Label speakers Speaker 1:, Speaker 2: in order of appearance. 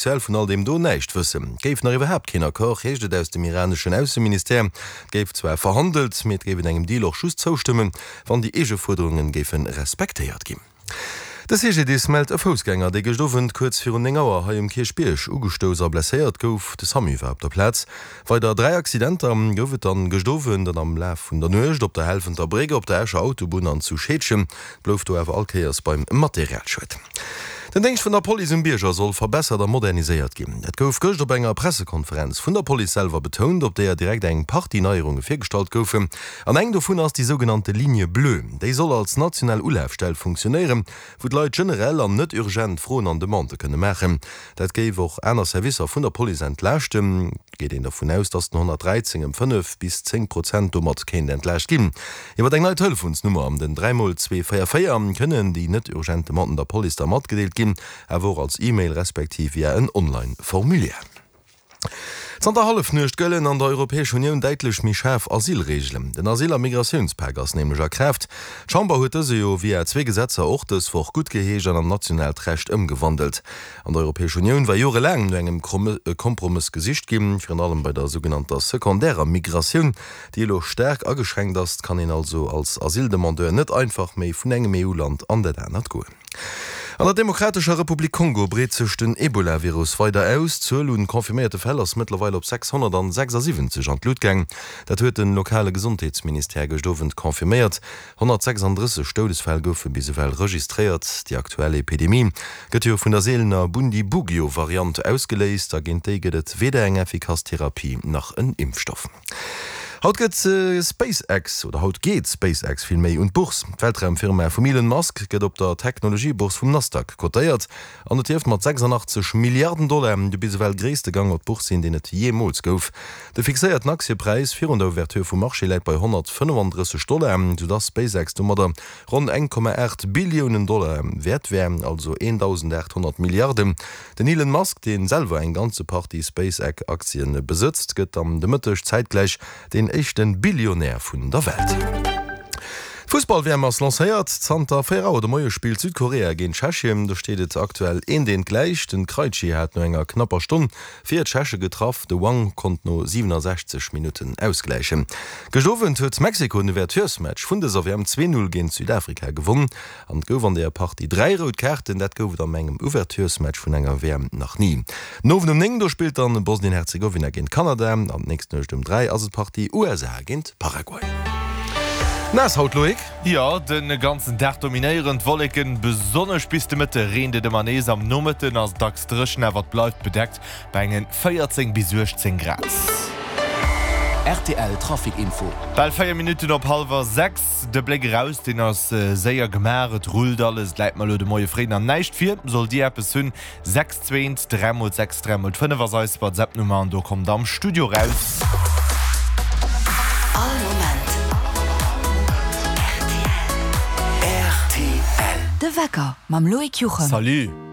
Speaker 1: Offiziell vun all deem do näischt wëssen. Et géif nach iwwerhaapt keen Accord, heescht et aus dem iraneschen Ausseministère. Et géif zwar verhandelt, mee et géif een engem Deal och just zoustëmmen, wann déi eege Fuerderunge géife respektéiert ginn. De CGDIS mellt e Foussgänger, dee gëscht Owend kuerz virun 9 Auer hei um Kierchbierg ugestouss a blesséiert gouf. De Samu war op der Plaz. Weider 3 Accidenter gouf et dann gëscht Owend an am Laf vun der Nuecht op der Helfenter Bréck, op der Escher Autobunn an zu Scheedgen. Blouf do awer all Kéiers beim Materialschued. Den Déngscht vun der Police um Bierger soll verbessert a moderniséiert ginn. Dat gouf gëscht op enger Pressekonferenz vun der Police selwer betount, op deeër direkt eng Partie Neierunge virgestallt goufen. An eng dovun ass déi sougenannte Ligne bleue. Déi soll als national Ulafstell funktionéieren, wou d'Leit generell an net urgent Froen an Demandë kënne maachen. Dat géif och aner Servicer vun der Police entlaaschten. Et geet een dervun aus, datt den 113 ëm 5 bis 10 Prozent domat kéint entlaascht ginn. Iwwer eng nei Telefonsnummer, den 3 mol 2 4 4, kënnen déi net urgent Demanden der Police da matgedeelt ginn, awer och als E-Mail respektiv via en Online-Formulaire. Zanter Hallefnuecht gëllen an der Europäesch Unioun däitlech méi schaarf Asylreegelen. Den Asyl a Migratiounspak ass nämlech a Kraaft. D'Chamber huet dëse jo via zwee Gesetzer och dës Woch guttgeheescht an an nationaalt Recht ëmgewandelt. An der Europäesch Unioun war jorelaang no engem Kompromëss gesicht ginn, virun allem bei der sougenannter sekondärer Migratioun, déi elo staark ageschränkt ass. Kann een also als Asyldemandeur net einfach méi vun engem EU-Land an dat anert goen. An der Demokratescher Republik Kongo breet sech den Ebola-Virus weider aus. D'Zuel un confirméierte Fäll ass mëttlerweil op 676 an d'Lut gaang. Dat huet de lokale Gesondheetsministère gëscht Owend confirméiert. 136 Doudesfäll goufe bis ewell registréiert. Déi aktuell Epidemie gëtt jo vun der seelener Bundibugyo-Variant ausgeléist a géint déi gëtt et weder eng effikass Therapie nach en Impfstoff. Haut gëtt SpaceX, oder haut geet SpaceX villméi, un d'Bourse. D'Weltraumfirma vum Elon Musk gëtt op der Technologiebourse vum Nasdaq kotéiert an et dierft mat 86 Milliarden Dollar de bis ewell gréisste Gang op d'Bourse sinn, deen et jeemools gouf. De fixéierten Aktiepräis virun der Ouverture vum Marché läit bei 135 Dollar, soudass SpaceX domadder ronn 1,8 Billiounen Dollar wäert wär, also 1.800 Milliarden. Den Elon Musk, dee selwer eng ganze Partie SpaceX-Aktien besëtzt, gëtt am de Mëtteg zäitgläich deen éischte Billionär vun der Welt. D'Fussball-WM ass lancéiert. Zanter 4 Auer de Moie spillt Südkorea géint Tschechien. Do steet et aktuell eent eent gläich. Den Krejci hat no enger knapper Stonn Fir d'Tscheche getraff, de Wang konnt no 67 Minutten ausgläichen. Gëscht Owend huet Mexiko den Ouverturesmatch vun dëser WM 2, 0 géint Südafrika gewonn an et gouf an deeër Partie 3 rout Kaarten. Dat gouf et am engem Ouverturesmatch vun enger WM nach ni. Den Owend um 9 do spillt dann Bosnien-Herzegowina géint Kanada an d'nächst Nuecht um 3 ass et d'Partie USA géint Paraguay. Naass haut, Loïc?
Speaker 2: Jo, de ganzen Dag dominéieren d'Wolleken, besonnesch bis de Mëtte reent et ëmmer nees. Am Nomëtten ass et dacks dréchen, awer et bleift bedeckt bei engen 14 bis 18 Grad.
Speaker 3: Rtl Trafic Info.
Speaker 2: Bal 4 Minutten op hallwer 6. De Bléck eraus, deen ass séier gemaach. Et rullt alles, et läit mer elo de Moie fréi nach näischt vir. Sollt Dir eppes hunn, 6 2 3 mol 6 3 mol 5 ass eis WhatsApp Nummer an do kommt am Studio raus.
Speaker 3: All Moment rtl. De Wecker mam Loïc Juchem.
Speaker 2: Salut.